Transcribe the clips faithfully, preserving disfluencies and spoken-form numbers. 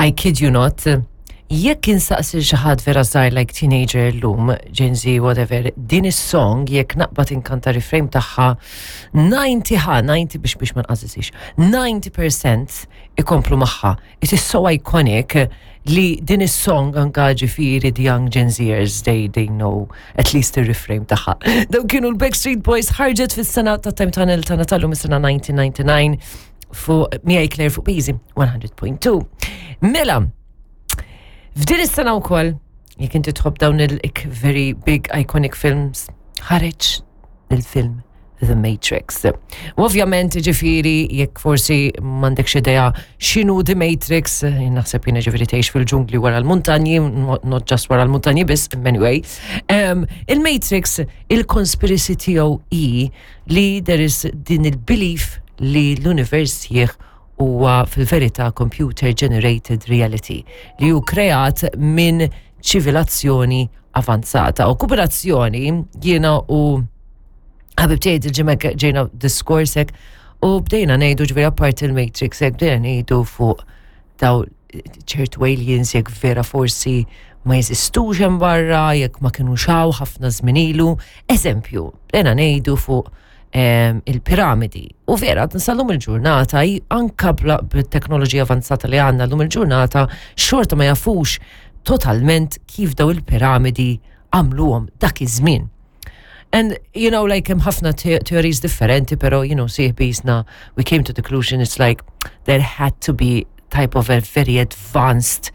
I kid you not, jekk insaqsi xi ħadd vera żgħir like teenager llum, Gen Z, whatever, din is-song jekk naqbad inkanta refrain tagħha disgħin ħa, disgħin biex biex ma nqażżix, disgħin fil-mija ikomplu magħha. It is so iconic li din is-song anka ġifieri the young Gen Zers, they, they know at least the refrain tagħha. Dawn kienu l-Backstreet Boys, ħarġet fis-sena ta' Time Tunnel ta' Natallu mis-sena elf disa' mija u disgħa u disgħin fuq miegħi Claire fuq Easy mija punt wieħed. Mela, f'din is-sena wkoll, jekk inti tħobb dawn il very big iconic films, ħareġ il-film The Matrix. U ovvjament ġifieri, jekk forsi m'għandekx idea x'inhu The Matrix, naħseb jiena ġifieri tgħix fil-ġungli wara l-muntanji, not just wara l-muntanji biss, anyway. Um, Il-Matrix, il-conspiracy tiegħu hi li there is din il-belief li l-univers jieħ huwa fil-verità computer generated reality li hu kreat minn ċivilazzjoni avanzata. U kooperazzjoni jiena u ħabib tiegħi il-ġimgħa ġejna diskorsek u bdejna ngħidu ġifieri apart il-Matrix hekk bdejna ngħidu fuq daw ċertu aliens, jekk vera forsi ma jeżistux hemm barra, jekk ma kienu xaw ħafna żmien ilu. Eżempju, bdejna ngħidu fuq em, il-piramidi. U vera, sal-lum il-ġurnata, anka bit-teknoloġija avanzata li għandna llum il-ġurnata, xorta ma jafux totalment kif daw il-piramidi għamluhom dak iż-żmien. And, you know, like, hemm ħafna te theories differenti, pero, you know, sieħbi jisna, we came to the conclusion, it's like, there had to be type of a very advanced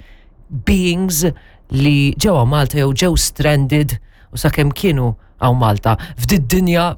beings li ġewwa Malta jew ġew stranded u sakemm kienu hawn Malta f'did dinja.